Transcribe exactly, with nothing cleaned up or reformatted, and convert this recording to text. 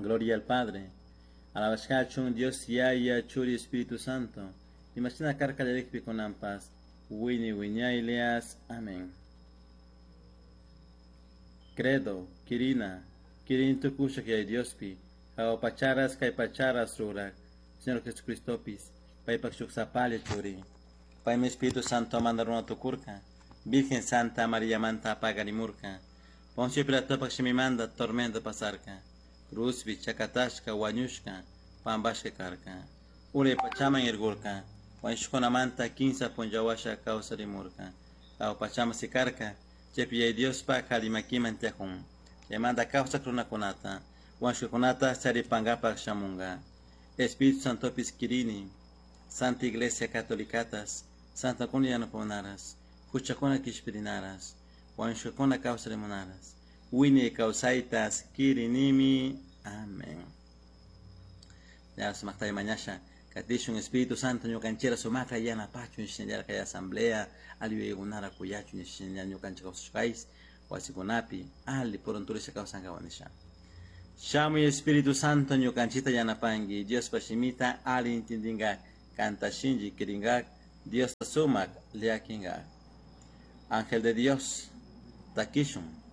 Gloria al Padre. Alabashkachun Dios Yaya Churi Espíritu Santo. Imashina karka kallarikpi kunanpas. Wiñay wiñaylias. Amén. Credo, Quirina, Quirin tukushak Yaya Diospi, Jahua pacharas kay pacharas rurak, Señor Jesucristopis, paypak shuk sapalla churi. Paymi Espíritu Santo manda runa tukurka, Virgen Santa María manta pagarimurka, Poncio Pilatopak shimimanta tormento pasarka, Cruzpi chakatashka wañushka, pampashka karka. Uray pachaman irgurka, wañushkunamanta kinsa punlla kawsarimurka. Jahua pachaman sikarka, chaypi Yaya Diospak alli makiman tiyakun. Chaymanta kawsak runakunata, wañushkakunata charipankapak shamunka. Espíritu Santopis kirini, Santa Iglesia Catolicatas, Santokuna yanapamunaras, huchakuna kishpirinaras, wañushkakuna kawsarimunaras, wiñay kawsaytas kirinimi. Amén. Ya sumaktay mañasha, katishun Espíritu Santo ñukanchira sumakta yanapachun shinallar kay asamblea alli yuyaykunara kuyachun shinallar ñukanchik kawsashkayis wasikunapi alli purunturisha kawsankawa nisha. Shamuy Espíritu Santo ñukanchita yanapanki Diospa shimita alli intindinkak kanta shinchi kirinkak Diosta sumak llakinkak. Ángel de Dios, takishun.